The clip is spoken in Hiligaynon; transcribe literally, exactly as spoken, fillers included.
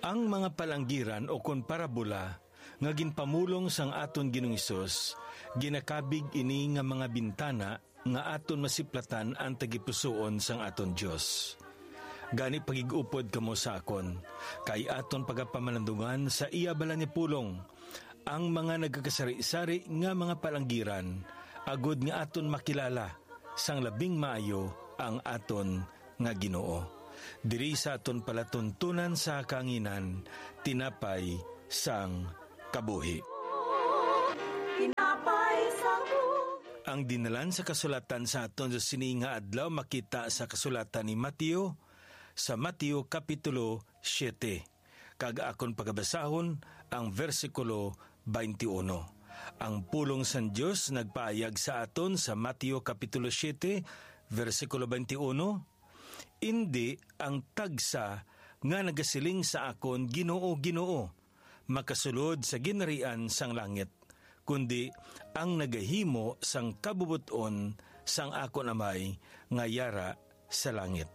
Ang mga palanggiran o kon parabola nga ginpamulong sang aton Ginoong Hesus, ginakabig ini nga mga bintana nga aton masiplatan ang tagipusoon sang aton Dios. Gani, pagig-upod kamo sa akon, kay aton pagapamalandungan sa iya balaan nga pulong ang mga nagakasari-sari nga mga palanggiran, agod nga aton makilala sang labing maayo ang aton nga Ginoo. Diri sa aton palatuntunan sa kahanginan, tinapay sang kabuhi. Tinapay sa buhi. Ang dinalan sa kasulatan sa aton sa sini nga adlaw makita sa kasulatan ni Mateo, sa Mateo Kapitulo siete. Kag akon pagabasahon ang bersikulo twenty-one. Ang pulong sang Dios nagpaayag sa aton sa Mateo Kapitulo siete, bersikulo twenty-one, "Indi ang tagsa nga nagasiling sa akon, 'Ginoo, Ginoo,' makasulod sa ginharian sang langit, kundi ang nagahimo sang kabubot-on sang akon Amay nga yara sa langit."